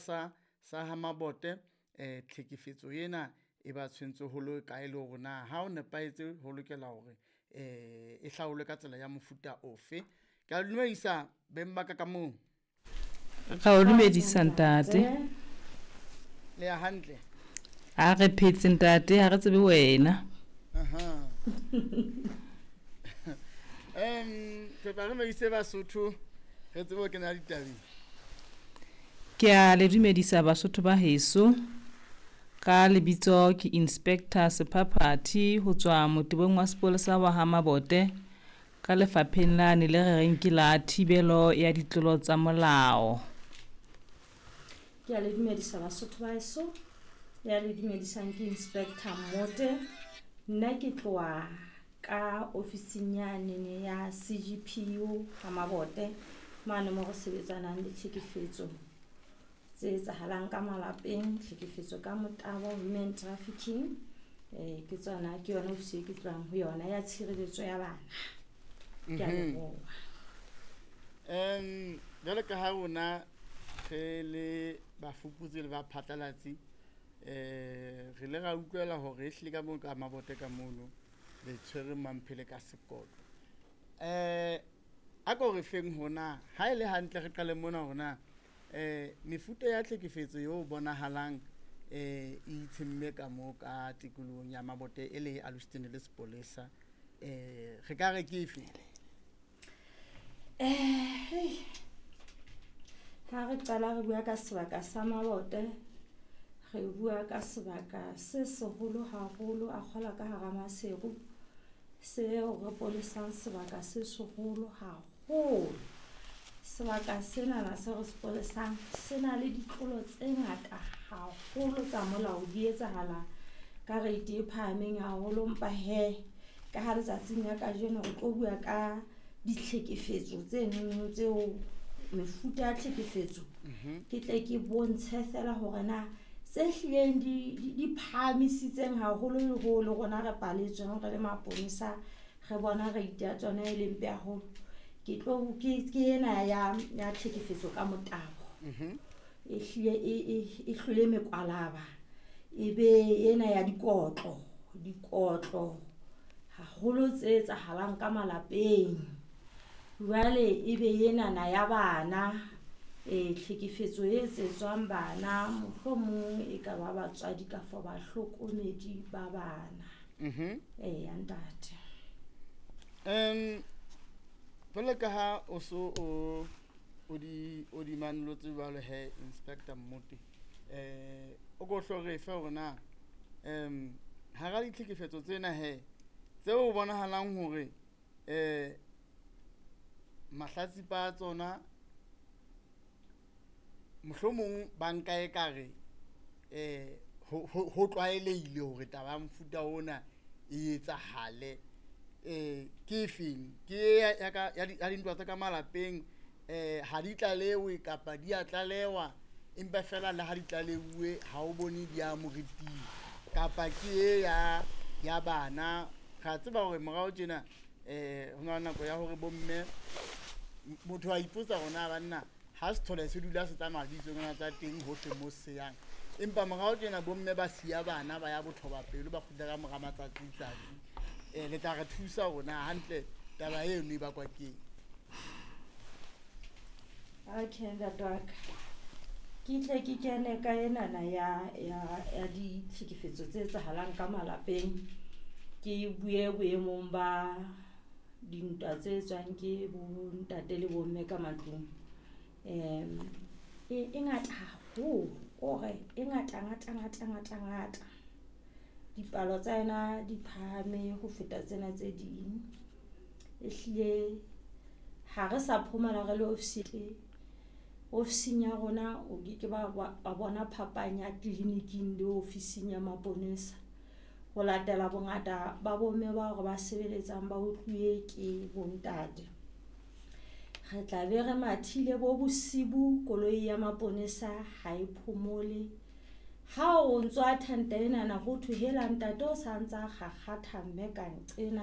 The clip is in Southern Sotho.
sa sa ha Mabote tlhekefetso ena e ba tshwentse ho le kae le hore na ha o nepahetse ho lokela hore e hlaolwe ka tsela ya mofuta ofe. Ke a dumedisa beng ba ka ka moo. Ra o dumedisa ntate. Le ya hantle? A re phetse ntate, ha re tsebe wena. Aha. Kopa re medise Basotho re tsebe ho kena ditabeng. Ke a le dumedisa Basotho ba heso. Ka lebitso ke Inspector Sephaphathi ho tswa motebong wa sepolesa wa ha Mabote ka lefapheng lane le re reng ke la thibelo ya ditlolo tsa molao. Ke a le dumedisa Basotho ba heso. Ya le dumedisang ke Inspector Mote. Nna ke tloha ka ofising yanene ya CGPU ha Mabote mane mo re sebetsanang le tlhekefetso tse etsahalang ka malapeng, tlhekefetso ka motabo, human trafficking. Ke tsona, ke yona ofisi e ke tlohang ho yona ya tshireletso ya bana. Ke a leboha. Jwalo ka ha rona re le bafuputsi le baphatlalatsi, re ile ra utlwela hore ehlile ka moo ka Mabote ka mono le tshwere Mamphele ka sekotlo. A ko re feng hona ha e le hantle re qale mona hore na mefuta ya tlhekefetso eo bonahalang e itshemme ka moo ka tikolohong ya Mabote e le alositsene le sepolesa, re ka re ke efe? Ha re qala re bua ka sebaka sa Mabote, re bua ka sebaka se seholo haholo, a kgola ka hara Maseru, seo re polesang sebaka se seholo haholo. Sebaka senana se re se polesang se na le ditlolo tse ngata haholo tsa molao, di etsahala ka rate e phahameng haholo. Empa hee ka ha letsatsing la kajeno re tlo bua ka ditlhekefetso tse nono tseo, mefuta ya tlhekefetso, ke tle ke bontshe fela hore na tse hlileng di phahamisitseng haholo le ho le rona re paletsweng re le maponesa, re bona rate ya tsona e leng mpe haholo. Ke tlo ke ena ya tlhekefetso ka motabo. E hlile e hlole mekwalaba, e be ena ya dikotlo, dikotlo haholo tse etsahalang ka malapeng. Jwale e be enana ya bana, tlhekefetso e etsetswang bana, mohlomong e ka ba batswadi kafo bahlokomedi ba bana. Eya ntate. Jwalo ka ha o so o di manolotse jwalo he Inspector Mmote, o ko hlo re fe hore na hara ditlhekefetso tsena he tseo bonahalang hore mahlatsipa a tsona mohlomong ba nka ekare ho tlwaelehile hore taba ya mofuta ona e etsahale, ke efeng? Ke ya dintwa tsa ka malapeng, ha di tlalewe kapa di a tlalewa empa fela le ha di tlaleuwe ha o bone di ya moriting, kapa ke e ya bana? Ra tseba hore morao tjena ho na le nako ya hore bomme, motho a ipotsa hore na banna ha sethole se dula se tsamaya le ditsongwana tsa teng hohle mo se yang, empa morao tjena bomme ba siya bana ba ya bothoba pelo, ba kgutla ka mora matsatsi tsatsi. Le tla re thusa hore na hantle taba eno e bakwa keng? Okay, ntate wa ka. Ke tle ke kene ka enana ya ditlhekefetso tse etsahalang ka malapeng. Ke bue boemong ba dintwa tse etswang ke bontate le bomme ka matlung. E ngata haholo, kore e ngata ngata ngata ngata ngata. Dipalo tsa yona di phahame ho feta tsena tse ding. Ehlile ha re sa phomola re le ofising ya rona, o ke ke ba bona phapang ya tleliniking le ofising ya maponesa. Ho latela bongata ba bomme bao re ba sebeletsang ba otluwe ke bontate. Re tla be re mathile bo bosibu, koloi ya maponesa ha e phomole. Ha o ntso attend-a enana ho thwe hela ntate o sa ntsa kgakgatha mme ka nqena.